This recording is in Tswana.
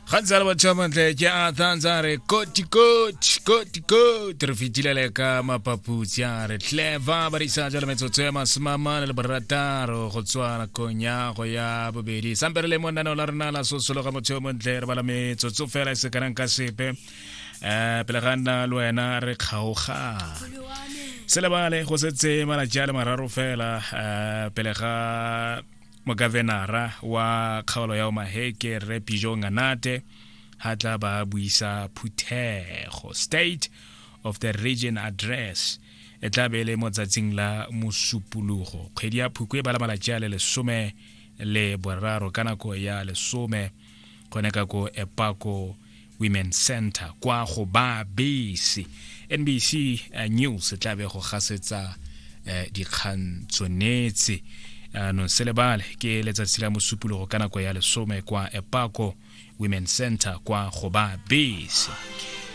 Gantsi a le batho ba mantle ke a tantsa re koti koti koti koti re fetile le ka mapaputsi a re clever ba risa jalo metsotso ya masomamane le borataro go tswa nakong ya go ya bobedi. Sampe re le mo lenaneo la rena la sosologa motho yo montle, re bala metsotso fela e se kanang ka sepe pele ga nna le wena re kgaoga. Se lebale go setse malatsi a le mararo fela pele ga mogavenara wa kgaolo ya Omaheke Rre Pijo Nganate ha tla ba buisa phuthego. State of the Region Address e tla be e le mo tsatsing la Mosupologo, kgwedi ya Phukwe e bala malatsi a le 13 ka nako ya 10 gone ka ko Epako Women Center kwa go ba bese. NBC News e tla be go gasetsa dikgang tsonetse. Anong se lebale ke letsatsi la Mosupologo ka nako ya 10 kwa Epako Women Center kwa go ba bese.